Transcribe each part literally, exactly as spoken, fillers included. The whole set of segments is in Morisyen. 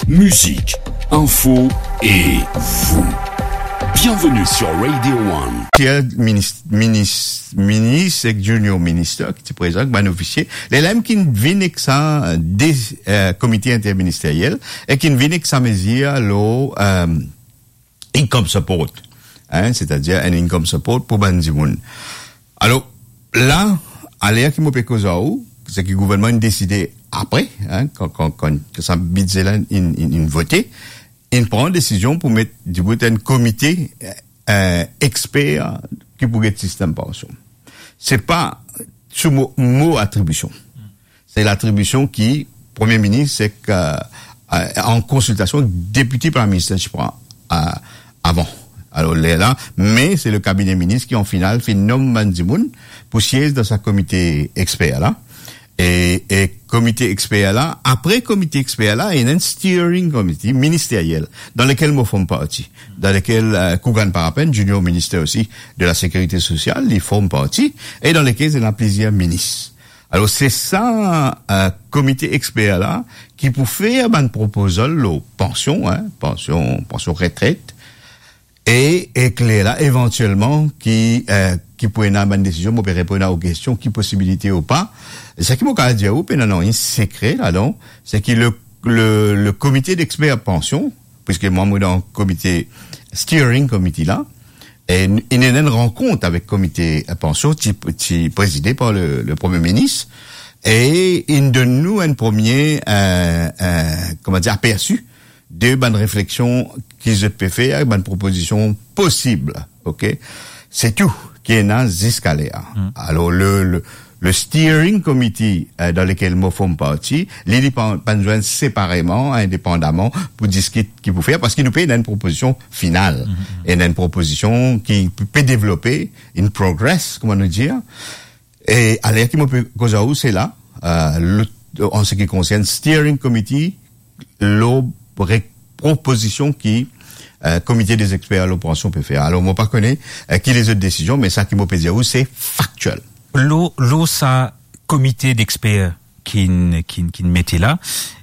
Musique, info et vous. Bienvenue sur Radio One. Ti minis, minis, minis ek junior minister ki ti prezan, bann ofisie. Lerla mem ki vinn ek sa, de, eh, komite interministeriel, e ki vinn ek sa mezir lor, eh, income support, hein, setadir enn income support pou bann dimoun. Alor, la, aler ki mo pe koz ar ou, se ki gouvernman inn deside apre, hein, kan, kan, kan, kan sa bidze la inn, inn, inn vote, inn pran desizion pou met dibout enn komite, eh, exper ki pou get sistem pansion. Se pa sou mo, mo atribision. Se latribision ki Premie Minis ek, eh, eh, an konsiltasion ek Deputy Prime Minister, je crois, eh, avan. Alor, lerla, me se le kabine minis ki, an final, finn nom bann dimoun pou siez dan sa komite exper la. E, e komite exper la, apre komite exper la, ena enn steering committee ministeriel, dan lekel mo form parti, dan lekel, eh, Kougan Parapen, junior minister osi de la Sécurité Sociale, li form parti, e dan lekel ena plizier minis. Alor, se sa, eh, komite exper la ki pou fer bann proposal lor pansion, hein, pansion, pansion retret, e, e lerla, evantielman, ki, eh, ki pou ena bann desizion, mo pe reponn a ou kestion, ki posibilite ou pa. Sa ki mo kapav dir ou, pena nanye sekre ladan, se ki le, le, le komite dexper pansion, piske mwa, mo dan komite, steering committee la, e n-, inn ena enn rankont avek komite, eh, pansion, ti, ti prezide par le, le Premie Minis, e inn donn nou enn premie, eh, eh, kouma dir, apersi de bann refleksion ki zot pe fer, bann propozision posib, ok? Se tou ki ena ziska ler. Hmm. Alor, le, le, le steering committee, eh, dan lekel mo form parti, li, li pa, pa'nn zwenn separeman, indepandaman, pou diskit ki pou fer, paski nou pe ena enn propozision final, hmm, hmm, ena enn propozision ki pe devlope, in progress, kouma nou dir. E aler ki mo pe koz ar ou, se la, eh, le, an se ki konsern steering committee, lor re-, propozision ki, eh, komite dexper lor pansion pe fer. Alor, mo pa kone, eh, ki lezot desizion, me sa ki mo pe dir ou, se faktiel. Lor, lor sa komite dexper ki, ki, ki mete la,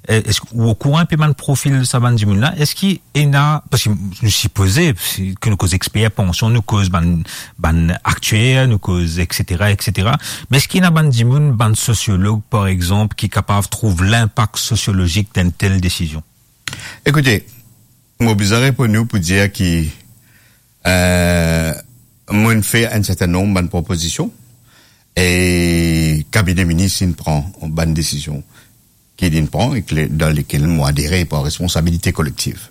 eh, eski ou okouran inpe bann profil sa bann dimoun la? Eski ena, paski nou sipoze, si, ke nou koz exper pansion, nou koz bann, bann aktier, nou koz, et cetera, et cetera. Me eski ena bann dimoun, bann sosiolog, par exanp, ki kapav trouv linpak sosiolozik dan enn tel desizion? Ekoute, mo bizin reponn ou pou dir ki, eh, mo'nn fer enn serten nonb bann propozision, e kabine minis inn pran bann desizion ki li'nn pran, e ki le-, dan lekel mo adere par responsabilite kolektiv.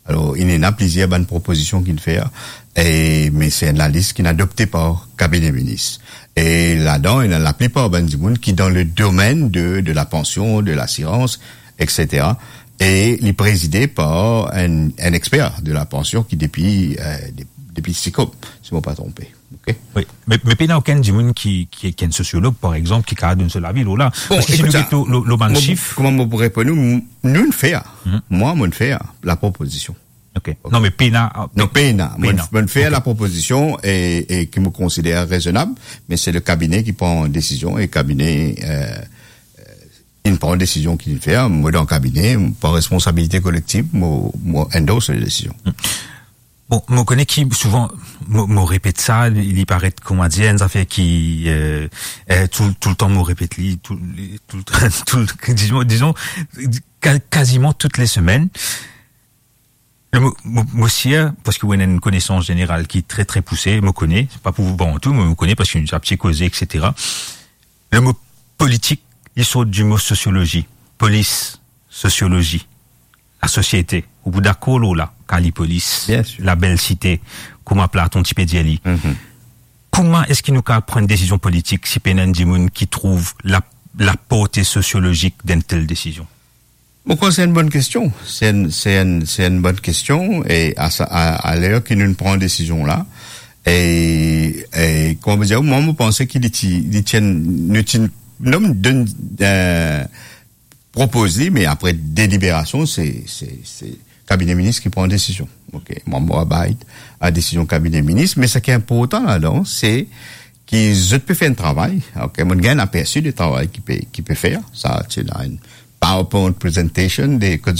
Alor, inn ena plizier bann propozision ki'nn fer, e, me se enn lalis ki'nn adopte par kabine minis. E ladan, ena laplipar bann dimoun ki dan le domenn de, de la pansion, de lasirans, et cetera. E li prezide par enn, enn exper de la pansion ki depi, eh, de-, depi SICOP, si mo pa tronpe. Ok? Wi, me, me pena okenn dimoun ki, ki, ki enn sosiolog, par exanp, ki kapav donn so lavi lor la. Bon, paski si nou ekout sa, get lor, lor, lor bann mo, sif, kouma mo pou reponn ou, m-, nou'nn fer. Mhm. Mwa, mo'nn fer la propozision. Ok. Ok. Non, me pena, ah, non, pe-, pena. Mo'nn, pena. Mo'nn fer, ok, la propozision e, e ki mo konsider rezonab, me se le kabine ki pran desizion e kabine, eh, inn pran desizion ki inn fer, mo dan kabine, par responsabilite kolektiv, mo, mo endorse le desizion. Hmm. Bon, mo kone ki souvan, mo, mo repet sa, li, li paret, kouma dir, enn zafer ki, eh, eh, tou, toultan mo repet li, tou, li, tou, tou, dizon, dizon, ka-, kaziman tout le semenn. Le mo, mo, mo sir, paski ou ena enn konesans zeneral ki tre, tre pouse, mo kone, pa pou vant ou, me mo kone paski nou ti pe koze, et cetera. Le mo politik, li sort di mo sosiolozi. Polis, sosiolozi, lasosiete. Ou pou dakor lor la, Kalipolis, bien sir, label site, kouma Platon ti pe dir li. Mhm. Kouma eski nou kapav pran enn desizion politik si pena enn dimoun ki trouv la, laporte sosiolozik dan enn tel desizion? Mo krwar se enn bonn kestion. Se enn, se enn, se enn bonn kestion. E a sa, a, a ler ki nou pran desizion la, e, e, kouma mo dir, mwa, mo panse ki li ti, li ti enn, nou ti nom donn, eh, propoz li, me apre deliberasion, se, se, se kabine minis ki pran desizion. Ok, mwa, mo abide a desizion kabine minis, me seki inportan ladan, se ki zot pe fer enn travay, ok, mo'nn gagn apersi de travay ki pe, ki pe fer, sa, ti ena enn PowerPoint presentation de kot